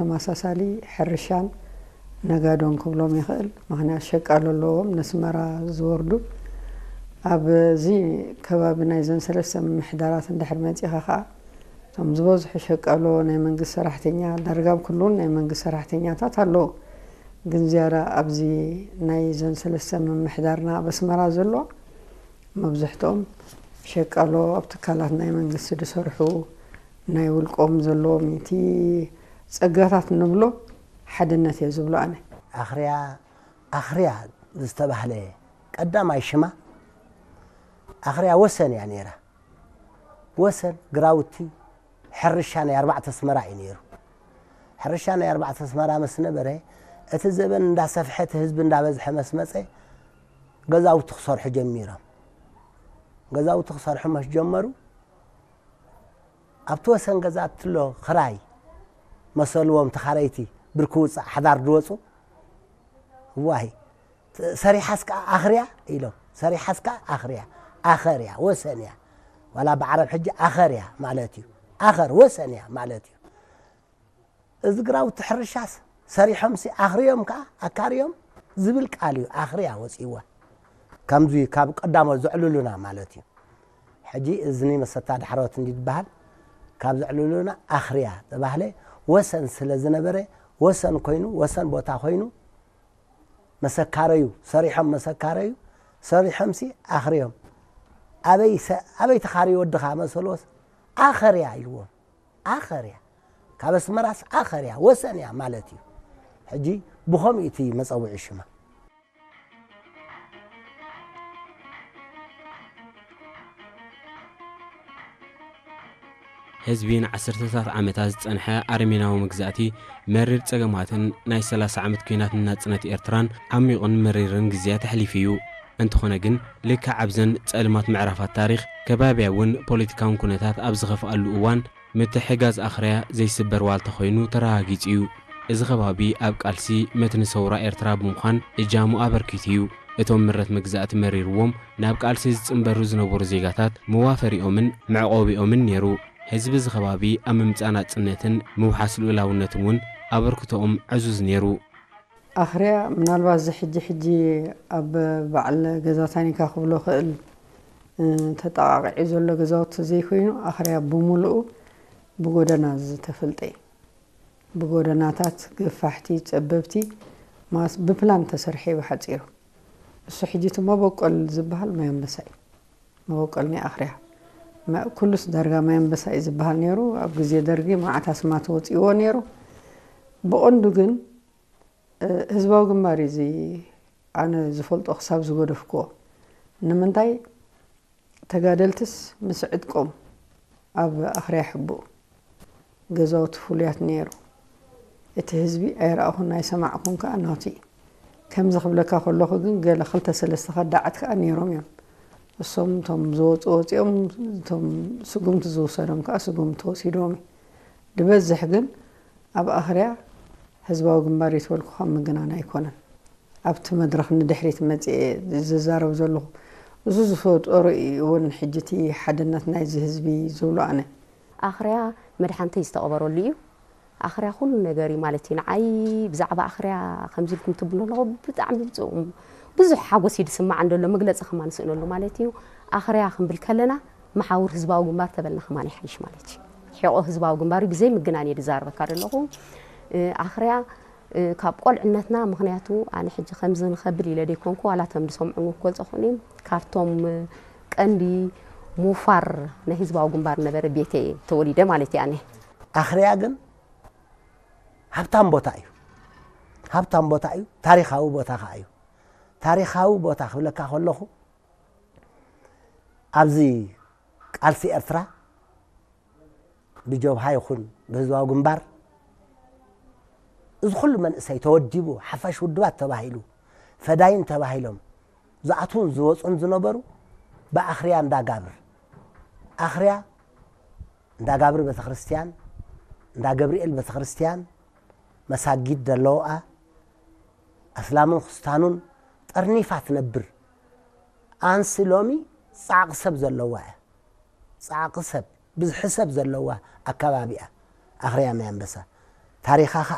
ተመሳሳሊ ሕርሻን ነጋዶን ክብሎም ይኽእል። ምኽንያት ሸቃሎ ኣለዎም ነስመራ ዝወርዱ። ኣብዚ ከባቢ ናይዘን ሰለስተ ምምሕዳራት እንድሕር መጺኻ ኸዓ፣ እቶም ዝበዝሑ ሸቃሎ ናይ መንግስቲ ሰራሕተኛ፣ ዳርጋ ኣብ ኩሉን ናይ መንግስቲ ሰራሕተኛታት ኣለዉ። ግን ዝያዳ ኣብዚ ናይዘን ሰለስተ ምምሕዳርና ኣብ ኣስመራ ዘሎ፣ መብዝሕትኦም ሸቃሎ ኣብ ትካላት ናይ መንግስቲ ዝሰርሑ፣ ናይ ውልቆም ዘለዎም፣ እቲ ጸጋታት ንብሎ ሓድነት እየ ዝብሎ ኣነ። ኣኽርያ፣ ኣኽርያ ዝተባህለ ቀዳማይ ሽማ ኣኽርያ ወሰን እያ ነይራ። ወሰን ግራውቲ ሕርሻ ናይ ኣርባዕተ ኣስመራ እዩ ነይሩ። ሕርሻ ናይ ኣርባዕተ ኣስመራ ምስ ነበረ፣ እቲ ዘበን እንዳሰፍሐ፣ እቲ ህዝቢ እንዳበዝሐ ምስ መጸ፣ ገዛውቲ ክሰርሑ ጀሚሮም። ገዛውቲ ክሰርሑ ምስ ጀመሩ፣ ኣብቲ ወሰን ገዛ እትሎ ክራይ መሰልዎም ተኻረይቲ ብርኪ ውፃእ ሓዳር ድወፁ። ዋይ፣ ሰሪሓስ ከዓ ኣኽርያ ኢሎም፣ ሰሪሓስ ከዓ ኣኽርያ፣ ኣኸርያ፣ ወሰን እያ። ዋላ ብዓረብ ሕጂ ኣኸርያ ማለት እዩ። ኣኸር ወሰን እያ ማለት እዩ። እዚ ግራውቲ ሕርሻስ ሰሪሖምሲ ኣኽርዮም ከዓ ኣካርዮም ዝብል ቃል እዩ ኣኽርያ ወፂእዋ። ከምዚ ካብ ቀዳሞት ዘዕልሉና ማለት እዩ። ሕጂ እዝኒ መሰታ ዳሕሮት እንዲ ዝበሃል ካብ ዘዕልሉና ኣኽርያ ተባህለ። ወሰን ስለ ዝነበረ፣ ወሰን ኮይኑ፣ ወሰን ቦታ ኮይኑ፣ መሰካረዩ ሰሪሖም፣ መሰካረዩ ሰሪሖምሲ ኣኽርዮም። ኣበይ ሰ-፣ ኣበይ ተኻሪ ወድኻ መሰልዎስ፣ ኣኸርያ ኢልዎም። ኣኸርያ፣ ካብ ኣስመራስ ኣኸርያ፣ ወሰን እያ ማለት እዩ። ሕጂ ብኸምኡ እቲ መጸውዒ ሽማ። ህዝቢ ንዓሰርተታት ዓመታት ዝጸንሐ ኣረሜናዊ መግዛእቲ፣ መሪር ጸገማትን ናይ ሰላሳ ዓመት ኲናት ንናጽነት ኤርትራን ዓሚቑን መሪርን ግዜያት ኣሕሊፉ እዩ። እንተኾነ ግን፣ ልክዕ ኣብዘን ጸልማት ምዕራፋት ታሪኽ፣ ከባብያውን ፖለቲካውን ኩነታት ኣብ ዝኸፍኣሉ እዋን፣ ምትሕግጋዝ ኣኽርያ ዘይስበር ዋልታ ኮይኑ ተረጋጊጹ እዩ። እዚ ከባቢ ኣብ ቃልሲ መትኒ ሰውራ ኤርትራ ብምዃን እጃሙ ኣበርኪቱ እዩ። እቶም ምረት መግዛእቲ መሪርዎም ናብ ቃልሲ ዝጽንበሩ ዝነበሩ ዜጋታት መዋፈሪኦምን መዕቆቢኦምን ነይሩ። ህዝቢ እዚ ከባቢ ኣብ ምምጻእ ናጽነትን ምውሓስ ልኡላውነትን እውን ኣበርክቶኦም ዕዙዝ ነይሩ። ኣኽርያ ምናልባት እዚ ሕጂ ሕጂ ኣብ በዓል ገዛ ታኒካ ክብሎ ክእል፣ እ፣ ተጠቓቒዑ ዘሎ ገዛውቲ ዘይኮይኑ፣ ኣኽርያ ብምሉኡ ብጎደና ዝተፈልጠ እዩ። ብጎደናታት ገፋሕቲ፣ ጸበብቲ፣ ማስ ብፕላን ተሰርሐ እዩ ብሓጺሩ። እሱ ሕጂ እቲ መበቆል ዝበሃል ማይ ኣንበሳ እዩ። መበቆል ናይ ኣኽርያ። መ-፣ ኩሉስ ዳርጋ ማይ ኣንበሳ እዩ ዝበሃል ነይሩ። ኣብ ግዜ ደርጊ መዓት ኣስማት ወጺእዎ ነይሩ። ብቐንዱ ግን፣ እ፣ ህዝባዊ ግንባር እዩ እዚ ኣነ ዝፈልጦ ክሳብ ዝገደፍክዎ። ንምንታይ? ተጋደልትስ ምስ ዕጥቆም ኣብ ኣኽርያ ሕቡእ፣ ገዛውቲ ፍሉያት ነይሩ። እቲ ህዝቢ ኣይረኣኹን ኣይሰማዕኩን ከኣ ናቱ እዩ። ከምዚ ክብለካ ከለኹ ግን ገለ ክልተ ሰለስተ ከዳዓት ከኣ ነይሮም እዮም። እሶም እቶም ዝወጹ ወጺኦም፣ እቶም ስጉምቲ ዝውሰዶም ከኣ ስጉምቲ ወሲዶም እዩ። ዝበዝሕ ግን ኣብ ኣኽርያ ህዝባዊ ግንባር እዩ ተበልኩ ካብ ምግናን ኣይኮነን። ኣብቲ መድረኽ ንድሕሪት መጺኤ ዝዛረብ ዘለኹ፣ እዚ ዝፈጠሮ እዩ እውን ሕጂ እቲ ሓድነት ናይዚ ህዝቢ ዝብሎ ኣነ። ኣኽርያ መድሓንተይ ዝተቐበረሉ እዩ። ኣኽርያ ኩሉ ነገር እዩ ማለት እዩ። ንዓይ ብዛዕባ ኣኽርያ ከምዚ ኢልኩም ትብሉ ኣለኹ ብጣዕሚ ብጽ-፣ ብዙሕ ሓጎስ እዩ ዝስማዓን ዘሎ፣ መግለጺ ከማን ስእነሉ ማለት እዩ። ኣኽርያ ክንብል ከለና መሓውር ህዝባዊ ግንባር ተበልና ከማን ይሓይሽ ማለት እዩ። ሕቖ ህዝባዊ ግንባር እዩ፣ ብዘይ ምግናን እየ ዝዛረበካ ዘለኹ። እ፣ ኣኽርያ እ፣ ካብ ቆልዕነትና፣ ምኽንያቱ ኣነ ሕጂ ከምዚ ንኸብል ኢለ ደይኮንኩ፣ ዋላ እቶም ዝሰምዑኒ ክገልጾ ክኽእሉ እዮም። ካብቶም፣ እ፣ ቀንዲ ምውፋር ናይ ህዝባዊ ግንባር ነበረ ቤተ እየ ተወሊደ ማለት እየ ኣነ። ኣኽርያ ግን ሃብታም ቦታ እዩ። ሃብታም ቦታ እዩ። ታሪኻዊ ቦታ ኸዓ እዩ። ታሪኻዊ ቦታ ክብለካ ከለኹ፣ ኣብዚ ቃልሲ ኤርትራ ብጀብሃ ይኹን ብህዝባዊ ግንባር እዚ ኩሉ መንእሰይ ተወዲቡ፣ ሓፋሽ ውድባት ተባሂሉ፣ ፈዳይን ተባሂሎም ዝኣትዉን ዝወፁን ዝነበሩ ብኣኽርያ እንዳጋብር፣ ኣኽርያ እንዳጋብር ቤተክርስትያን፣ እንዳ ገብርኤል ቤተክርስትያን፣ መሳጊድ ዘለውኣ፣ ኣስላምን ክስታኑን ጠርኒፋ ትነብር። ኣንሲ ሎሚ ጻዕቂ ሰብ ዘለዋ እያ። ጻዕቂ ሰብ፣ ብዝሒ ሰብ ዘለዋ ኣከባቢ እያ። ኣኽርያ ማይ ኣንበሳ። ታሪኻ